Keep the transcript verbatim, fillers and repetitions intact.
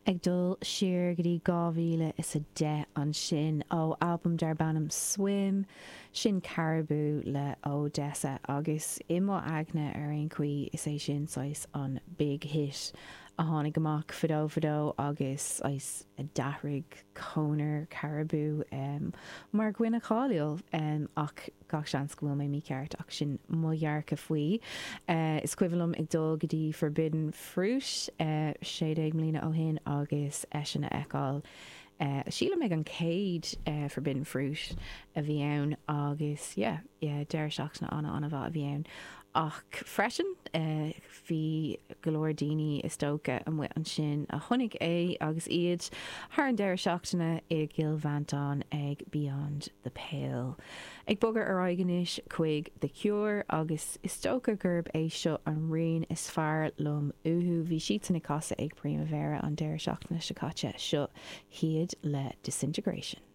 Ag dul siar go dtí dhá mhíle is a deich ansin ó albam darb ainm Swim, sin Caribou le ODESZA agus i mo aigne ar aon chaoi is é sin saghas an big hit a tháinig amach fadó fadó agus saghas a d'athraigh conair Caribou mar dhuine cáiliúil ach Gach seans go bhfuil mé mícheart ach sin mo dhearcadh faoi. Is cuimhin liom ag dul go dtí Forbidden Fruit sé déag mbliana ó shin agus eisean a fheiceáil, sílim ag an chéad Forbidden Fruit a bhí ann agus yeah, yeah deireadh seachtaine an-an-mhaith a bhí ann. Ach freisin bhí go leor daoine is dócha amuigh ansin a chonaic é agus iad thar an deireadh seachtaine i gCill Mhantáin ag Beyond the Pale. Ag bogadh ar aghaidh anois chuig The Cure agus is dócha gurb é seo an rian is fearr liom uathu. Bhí siadsan ag casadh ag Primavera an deireadh seachtaine seo caite. Seo hiad le Disintegration.